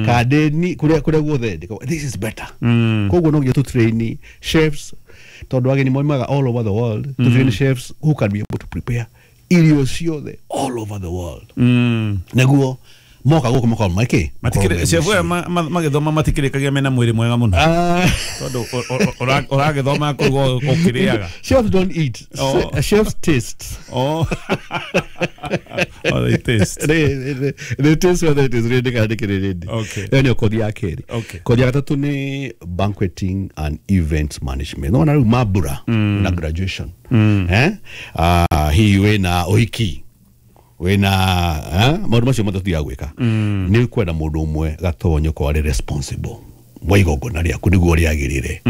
Kadeni kuria guothe this is better. Koguo no nginya tu train chefs tondu ageni moimaga all over the world, to train chefs who can be able to prepare irio ciothe all over the world. Niguo moka guku makorwo maiki matikire chef aya magithoma matikirikagia mena mwiri mwega muno tondu uragithoma kuruga ukiriaga. Chefs don't eat. Chefs taste. Oh, they taste. They taste whether it is ready kana ndikiri ready. Okay. Ĩyo nĩyo kothi ya kerĩ. Okay. Kothi ya gatatũ nĩ banqueting and event management. Nona rĩu mambura na graduation. Hihi wĩna ũhiki, wĩna maũndũ macio mothe tũthiaga gwĩka, nĩ kwenda mũndũ ũmwe gatonyo ko arĩ responsible wa igongona rĩaku nĩguo rĩagĩrĩre,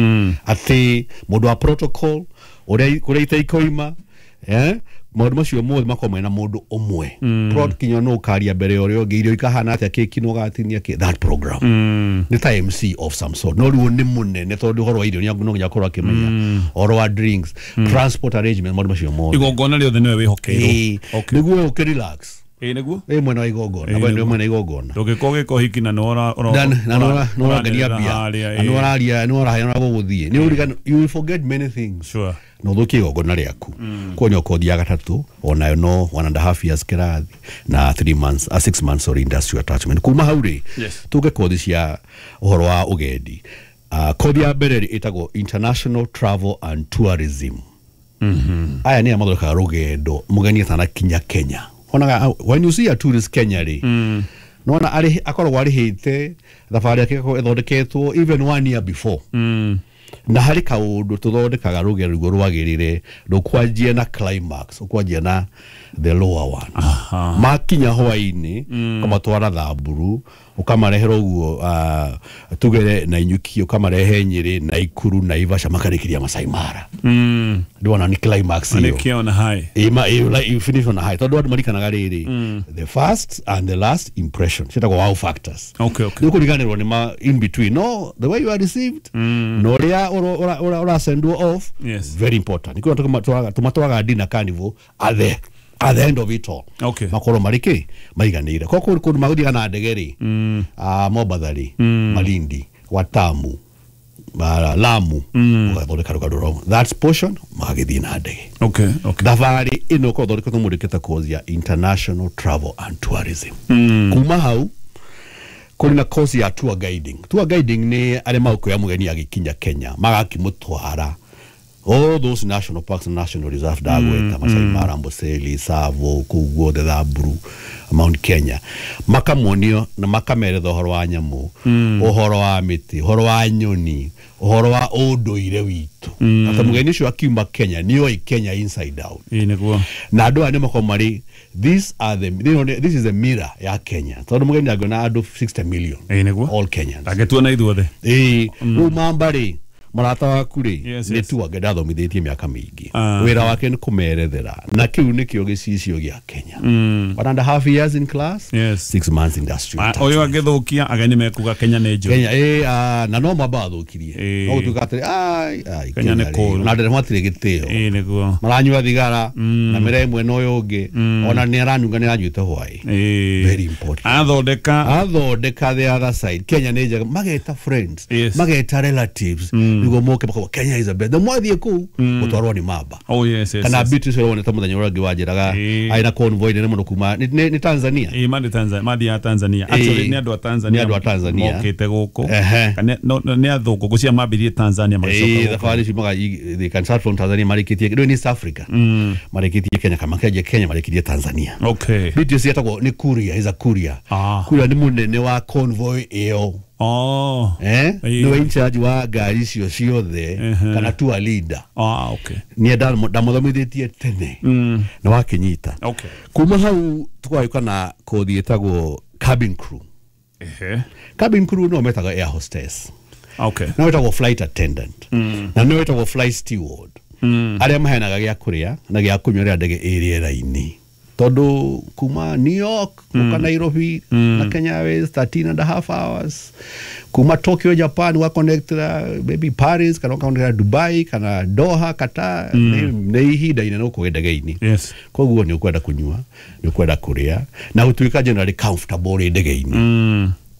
atĩ mũndũ wa protocol ũrĩa kũrĩa itaikoima, maũndũ macio mothe makorwo mena mũndũ ũmwe. Prod kinya no ũkaria mbere ya ũrĩa ũngĩ, irio ikahana atĩa, keki no gatinia kĩ, that program nĩ ta MC of some sort, no rĩu nĩ mũnene tondũ ũhoro wa irio no nginya akorwo akĩmenya ũhoro wa drinks, transport arrangement, maũndũ macio mothe. Igongona rĩothe nĩwe wĩhokeirwo. Nĩguo ũkĩrelax. Ĩĩ nĩguo. Ĩ mwena wa igongona, we nĩ mwena igongona. Ndũngĩkorwo ũgĩka ũhiki na nĩũrangania mbia, na nĩũraria, nĩũraheana gũgũthiĩ, nĩũririkana, you will forget many things. Sure. Na ũthũkie igongona rĩaku. Koguo nĩyo kothi ya gatatũ, onayo no 1.5 years kĩrathi na 3 months, 6 months or industrial attachment. Kuma hau rĩ, tũke kothi cia ũhoro wa ũgendi. Kothi ya mbere rĩ ĩtagwo International Travel and Tourism. Aya nĩ mathondekaga rũgendo mũgeni atanakinya Kenya. Onaga when you see a tourist Kenya rĩ, nona arĩ akoragwo arĩhĩte thabarĩ yake ĩgakorwo ĩthondeketwo even 1 year before. Na harĩ kaũndũ tũthondekaga rũgendo rũguo rwagĩrĩre, rũkwanjia na climax, ũkwanjia na the lower one. Makinya hwaĩ-inĩ, ũkamatwara Thamburu, ũkamarehera ũguo tugere na Inyuki, ũkamarehe Nyĩrĩ, Naikuru, Naivasha, makarĩkĩria Masai Mara. Ndĩwona nĩ climax ĩyo. Marĩkia on a high. You finish on a high. Tondũ andũ marikanaga rĩrĩ, the first and the last impression ciĩtagwo wow factors. Okay, okay. Nĩ ũkũriganĩrwo nĩ ma in between. No, the way you are received, na ũrĩa ũrasendwo off, Yes. very important. Nĩkĩo tũmatwaraga dinner carnival at the end of it all. Okay. Makorwo marĩ kĩ maiganĩire. Koguo kũndũ magũthiaga na ndege rĩ, Mombatha rĩ, Malindi, Watamu, Lamu, ũgathondeka rũgendo rwao. That portion magagĩthiĩ na ndege. Okay, okay. Thabarĩ ĩno ũkorwo ũthondeketwo mũndũ course ya International Travel and Tourism. Kuma hau kũrĩ na course ya tour guiding. Tour guiding nĩ arĩa magũkuoya mũgeni agĩkinya Kenya, magakĩmũtwara all those national parks and national reserve ndagweta, Masai Mara, Amboseli, Tsavo, kũu guothe Thamburu, Mount Kenya, makamonio na makameretha ũhoro wa nyamũ, ũhoro wa mĩtĩ, ũhoro wa nyoni, ũhoro wa ũndũire witũ. Atĩ mũgeni ũcio akiuma Kenya nĩoĩ Kenya inside out. Ĩĩ nĩguo. Na andũ aya nĩ makoragwo marĩ these are the, you know, this is the mirror ya Kenya. Tondũ mũgeni angĩona andũ 60 million. Ĩĩ nĩguo. All Kenyans. Angĩtuona ithuothe. Ĩĩ, rĩu mamba rĩ, mũrata waku rĩ, Yes, nĩ yes. tu angĩ ndathomithĩtie mĩaka mĩingĩ. Wĩra wake nĩ kũmerethera, na kĩu nĩkĩo gĩcicio gĩa Kenya. 1.5 years in class, Yes. 6 months industrial. Ũyũ angĩthũkia ageni mekuga Kenya nĩ njũru. Kenya, na no mamba athũkirie. No gũtuĩka atĩrĩ, ai, ai, Kenya nĩ rĩ, kũũru. na ndereba matirĩ gĩtĩo. Ĩĩ nĩguo. Maranyua thigara, na mĩre ĩmwe na ũyũ ũngĩ, ona nĩ aranunga nĩ aranyuĩte hwaĩ. Very important. Athondeka the other side. Kenya nĩ njega, mageta friends, Yes. mageta relatives, nĩguo moke makoiga Kenya is the best. Na mwathiĩ kũu gũtwarwo nĩ mamba. Oh yes, yes. Kana yes. Beatrice ũrĩa wonete mũthenya ũrĩa ũngĩ wanjĩraga arĩ na convoy nene mũno kuma nĩ Tanzania. Ĩĩ mandi Tanzania, mandi ya Tanzania. Actually nĩ andũ a Tanzania. Nĩ andũ a Tanzania. Mokĩte gũkũ. Kana nĩ athũngũ gũcia mambirie Tanzania magĩcoka gũkũ. Thabarĩ icio they can start from Tanzania marĩkĩtie, rĩu nĩ East Africa. Marĩkĩtie Kenya, kana makĩanjia Kenya marĩkĩtie Tanzania. Okay. Beatrice etagwo nĩ courier, is a courier. Courier nĩ mũnene wa convoy ĩyo. Oh. Nĩwe in charge wa ngari icio ciothe, kana tour leader. Okay. Niĩ ndamũthomithĩtie tene na wakĩnyita. Okay. Kuma hau tũgagĩũka na kothi ĩtagwo cabin crew. Cabin crew no metaga air hostess. Okay. No ĩtagwo flight attendant. Na no ĩtagwo flight steward. Arĩa maheanaga gĩa kũrĩa na gĩa kũnyua rĩrĩa ndege ĩ rĩera-inĩ. Tondũ kuma New York guka Nairobi na Kenya Airways 13.5 hours, kuma Tokyo Japan wa connect maybe Paris kana connect Dubai kana Doha Qatar, nĩ ihinda inene ũkũgĩa ndege-inĩ. Yes. Koguo nĩ ũkwenda kũnyua, nĩ ũkwenda kũrĩa na gũtuĩka generally comfortable rĩ ndege-inĩ.